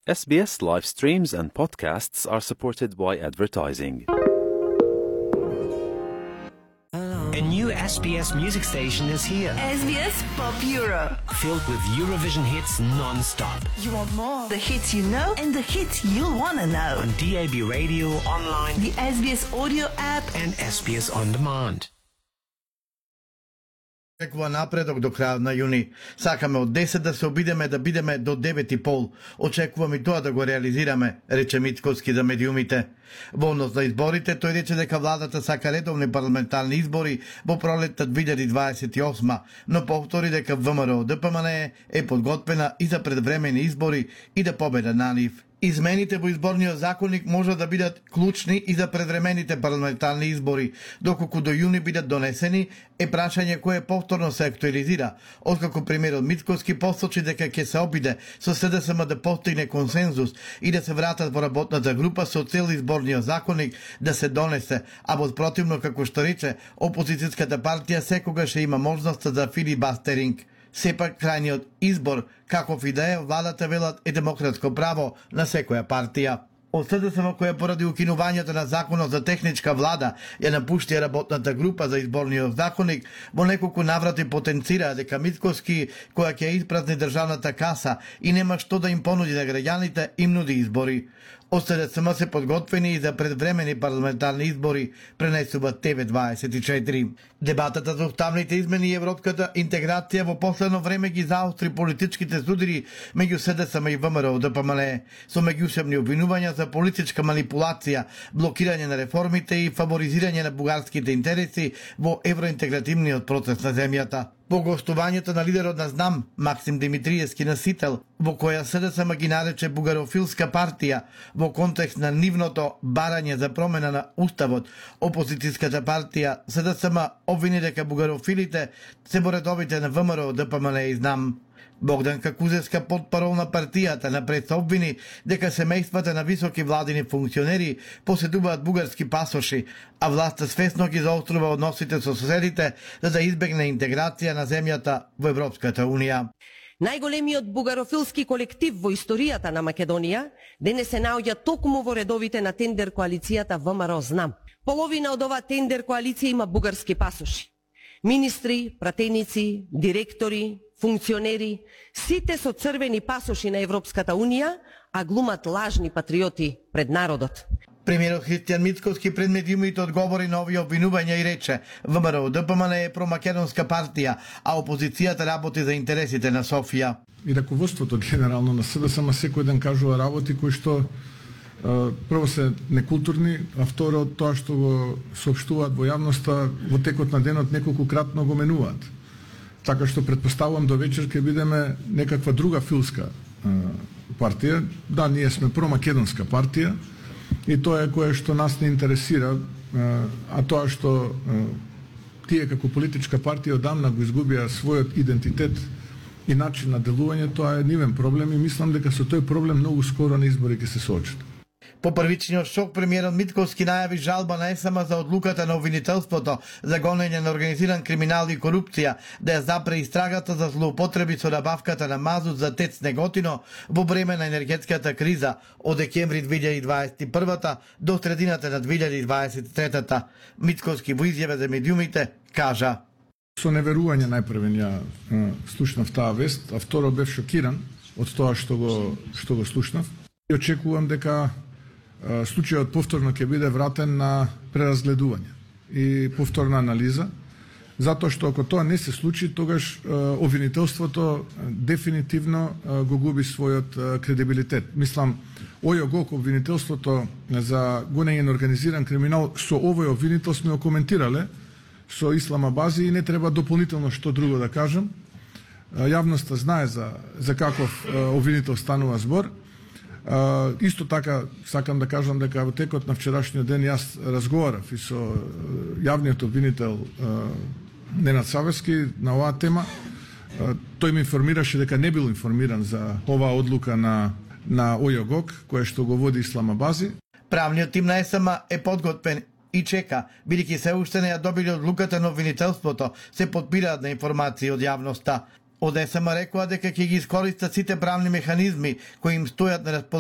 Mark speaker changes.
Speaker 1: SBS live streams and podcasts are supported by advertising.
Speaker 2: A new SBS music station is here.
Speaker 3: SBS Pop Euro.
Speaker 2: Filled with Eurovision hits non-stop.
Speaker 3: You want more? The hits you know and the hits you'll want to know.
Speaker 2: On DAB radio, online,
Speaker 3: the SBS audio app
Speaker 2: and SBS On Demand.
Speaker 4: Очекува напредок до крајот на јуни. Сакаме од 10 да се обидеме да бидеме до 9:30. Очекуваме и тоа да го реализираме, рече Мицкоски за медиумите. Во однос на изборите, тој рече дека владата сака редовни парламентарни избори во пролетта 2028, но повтори дека ВМРО ДПМН е подготвена и за предвремени избори и да победа на нив. Измените во изборниот законник може да бидат клучни и за предвремените парламентарни избори, доколку до јуни бидат донесени, е прашање кое повторно се актуализира, откако премиерот Мицкоски посочи дека ќе се обиде со СДСМ да постигне консензус и да се вратат во работната група со цел изборниот законник да се донесе, а во спротивно, како што рече, опозицијската партија секогаш има можноста за филибастеринг. Сепак крајниот избор, каков и да е, владата велат е демократско право на секоја партија. Од СДСМ која поради укинувањето на законот за техничка влада ја напушти работната група за изборниот законник, во неколку наврати потенцира дека Мицкоски, која ќе испразни државната каса и нема што да им понуди на граѓаните, им нуди избори. Од СДСМ се подготвени и за предвремени парламентарни избори, пренесува ТВ24. Дебатата за уставните измени и европската интеграција во последно време ги заостри политичките судири меѓу СДСМ и ВМРО ДПМН, со меѓусебни обвинувања за политичка манипулација, блокирање на реформите и фаворизирање на бугарските интереси во евроинтегративниот процес на земјата. По гостувањето на лидерот на ЗНАМ, Максим Димитриевски на Сител, во која СДСМ ги нарече бугарофилска партија, во контекст на нивното барање за промена на уставот, опозицијската партија СДСМ обвини дека бугарофилите се во редовите на ВМРО ДПМН и ЗНАМ. Богдан Какузевска, потпарол на партијата, напред се обвини дека семејствата на високи владини функционери поседуваат бугарски пасоши, а власта свесно ги заострува односите со соседите за да избегне интеграција на земјата во Европската Унија.
Speaker 5: Најголемиот бугарофилски колектив во историјата на Македонија денес се наоѓа токму во редовите на тендер коалицијата ВМРО ЗНАМ. Половина од оваа тендер коалиција има бугарски пасоши. Министри, пратеници, директори, функционери, сите со црвени пасоши на Европската Унија, а глумат лажни патриоти пред народот.
Speaker 4: Премиерот Христијан Мицкоски пред медиумите одговори на овие обвинувања и рече: ВМРО ДПМН е промакедонска партија, а опозицијата работи за интересите на Софија.
Speaker 6: И раководството генерално на СДСМ секој ден кажува работи кои што прво се некултурни, а второ тоа што го соопштуваат во јавноста во текот на денот неколкукратно го менуваат. Така што претпоставувам до вечер ќе бидеме некаква друга филска партија. Да, ние сме промакедонска партија и тоа е кое што нас не интересира, а тоа што тие како политичка партија одамна го изгубија својот идентитет и начин на делување, тоа е нивен проблем и мислам дека со тој проблем многу скоро на избори ќе се соочат.
Speaker 4: По првичниот шок, премиерот Мицкоски најави жалба на ЕСМ за одлуката на обвинителството за гонење на организиран криминал и корупција да ја запре истрагата за злоупотреби со набавката на мазут за ТЕЦ Неготино во време на енергетската криза од декември 2021 до средината на 2023. Мицкоски во изјава за медиумите кажа:
Speaker 6: Со неверување најпрвен ја слушнав таа вест, а второ бев шокиран од тоа што го слушнав и очекувам дека случајот повторно ќе биде вратен на преразгледување и повторна анализа, затоа што ако тоа не се случи, тогаш обвинителството дефинитивно го губи својот кредибилитет. Мислам, ОЈО обвинителството за гонење на организиран криминал, со овој обвинител сме го коментирале со Исламабази и не треба дополнително што друго да кажам. Јавноста знае за каков обвинител станува збор. Исто така сакам да кажам дека во текот на вчерашниот ден јас разговарав и со јавниот обвинител Ненад Савески на оваа тема. Тој ме информираше дека не бил информиран за оваа одлука на ОЈО, која што го води Исламабази.
Speaker 4: Правниот тим на ЕСМ е подготвен и чека, бидејќи се уште не ја добили одлуката на обвинителството, се подпираат на информации од јавноста. Од ЕСМ рекоа дека ќе ги искористат сите правни механизми кои им стојат на располагање